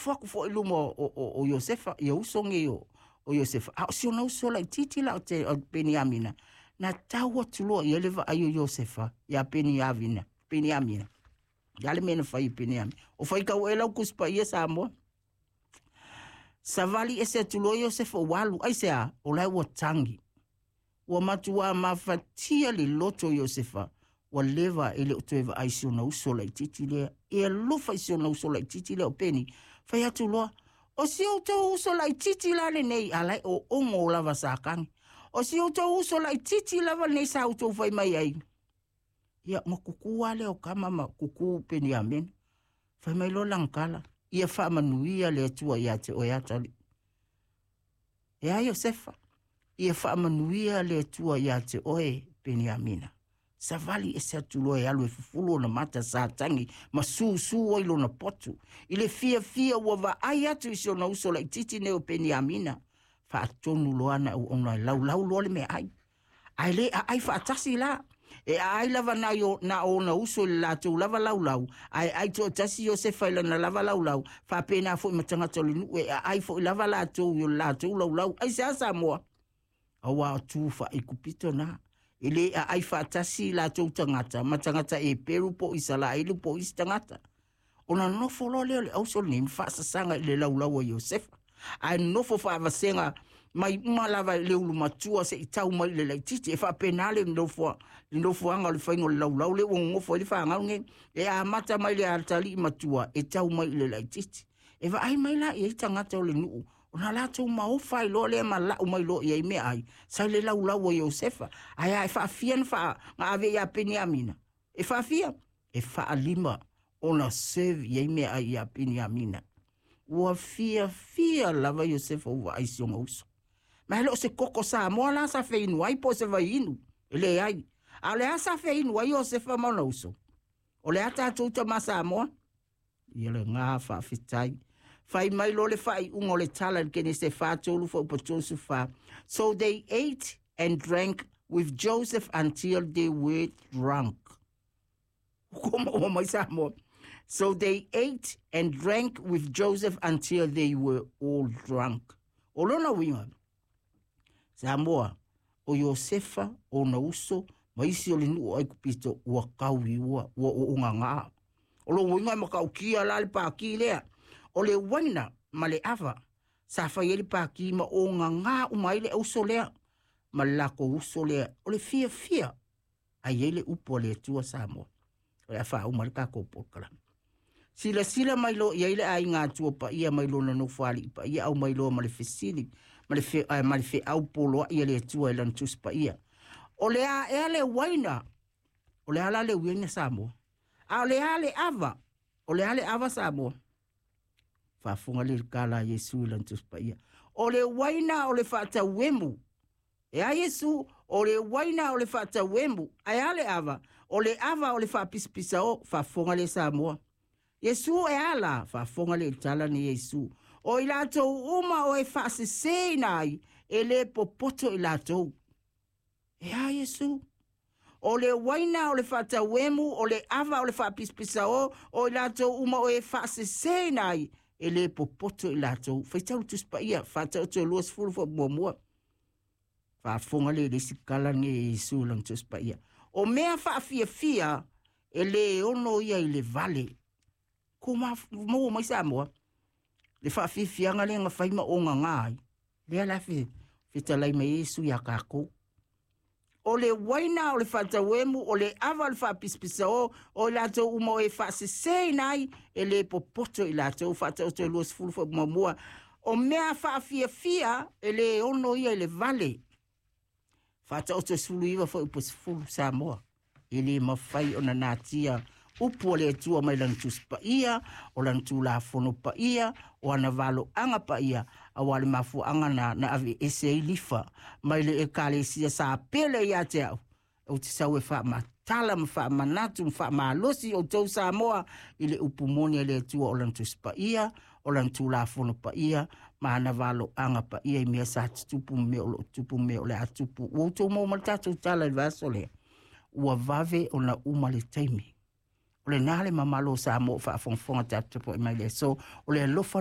nonofo atu foi i luma o Iosefa, ia uso nei o Iosefa, a o si ona uso laitiiti la o Peniamina, na tau atu loa i ai le vaai o Iosefa ia Peniamina. Peniamina. Ia le mea na fai e Peniamina. O faitau ea lau Tusi Paia Samoa? Savali ese atu loa Iosefa ua alu, aisea? O la e ua tagi. Ua matuā mafatia le loto o Iosefa, ua leva e le o toe vaai i si ona uso laitiiti lea. E alofa i si ona uso laitiiti lea o Peni. Fai atu loa, O si outou uso laitiiti la lenei, a la e oogo lava sa tagi. O si outou uso laitiiti lava lenei sa outou fai mai ai. Ia, ona kuku lava lea o tama ma kuku Peniamina. Fai mai loa lana tala, Ia faamanuia le Atua ia te oe atalii. E a Iosefa, ia faamanuia le Atua ia te oe Peniamina. Savali ese atu loa e alu e fufulu ona mata sa tagi ma susū ai lona potu. I le fiafia ua vaai atu i si ona uso laitiiti nei o Peniamina, faatonu loa ana auauna e laulau loa le meaai. Ae le aai faatasi la. E aai lava na, na ona uso i le latou lava laulau, ae ai toatasi Iosefa i lana lava laulau, faapena foi ma tagata o le nuu e aai foi lava latou i o le latou laulau. Aisea Samoa? Auā o tu faa-Aikupito na. E le aai faatasi latou tagata ma tagata Eperu po o Isaraelu po o isi tagata. Ona nofo loa lea o le auso lenei ma faasasaga i le laulau a Iosefa. Ae nofo faavasega mai uma lava i le ulu matua seia tau mai i le laitiiti. E faapena le nofoaga o le faiga o le laulau lea ua nonofo ai le fanau lenei. E amata mai le atalii matua e tau mai i le laitiiti. E vaai mai la i ai tagata o le nuu, ona latou maofa ai loa lea ma lau mai loa i ai meaai sa i le laulau a Iosefa. Ae a e faafia na ave ia Peniamina? E faafia? E faalima ona serve i ai meaai ia Peniamina. Ua fiafia lava Iosefa ua vaai i si ona uso. Ma e le o se koko Samoa la sa feinu ai po o se vaiinu, e leai. A o le a sa feinu ai Iosefa ma ona uso? O le a tatou tama Samoa? Ia lena faafetai. Fai mai loa le faaiuga o le tala i le Kenese 4, 3 fuaiupu 34. So they ate and drank with Joseph until they were drunk. Ua maua mai Samoa. So they ate and drank with Joseph until they were all drunk. O lona uiga, Samoa, o Iosefa, ona uso, ma isi o le nuu o Aikupito ua kauiua, ua oogagā. O lona uiga e matautia la le pākī lea. O le uaina ma le ava sa fai ai le pākī ma ogagā uma ai le auso lea ma le latou uso lea. O le fiafia a i ai le upu a le Atua Samoa. O le a faauma le tatou polokalame. Silasila mai loa i ai le aiga Atua paia mai lona nofoalii paia, aumai loa ma le fesili ma le, fe, ma le feau poloai a le Atua i lana Tusi Paia. O le a ea le uaina? O le a la le uaina Samoa? A o le a le ava? O le a le ava Samoa? Faafofoga le tala a Iesu i lana Tusi Paia. O le uaina o le faatauemu. E a Iesu, o le uaina o le faatauemu. Ae a le ava? O le ava o le faapisapisao. Faafofoga le Samoa. Iesu e a la? Faafofoga le tala nei a Iesu. O i latou uma o e faaseseina ai, e le popoto i latou. E a Iesu? O le uaina o le faatauemu, o le ava o le faapisapisao, o i latou uma o e faaseseina ai, e le popoto i latou. Faitau le Tusi Paia, Faataoto e 20 fuaiupu muamua. Faafofoga le le isi tala lenei e Iesu i lana Tusi Paia. O mea faafiafia e le ono ia i le vale. Ko maua mai Samoa le faafiafiaga lea na fai ma ogaga ai. Lea la fetalai mai ai Iesu iā tatou. O le uaina o le faatauemu, o le ava o le faapisapisao, o i latou uma o e faaseseina ai, e le popoto i latou. Faataoto e 20 fuaiupu muamua. O mea faafiafia e le ono ia i le vale. Faataoto e 19 fuaiupu 10 Samoa. E le mafai ona natia upu a le Atua mai lana Tusi Paia, o lana Tulafono Paia, o ana valoaga paia, auā le mafuaaga na na aveese ai Lifa mai le Ekalesia sa pele ia te au. Ou te sau e faamatala ma faamanatu ma faamalosi outou Samoa i le upu moni a le Atua o lana Tusi Paia, o lana Tulafono Paia, ma ana valoaga paia i mea sa tutupu ma mea o lo o tupu ma mea o le a tupu. Ua outou maua mai le tatou tala i le vaiaso lea? Ua vave ona uma le taimi. O lena le mamalu o Samoa o faafogafoga tatou tapuai mai i le aso. O le alofa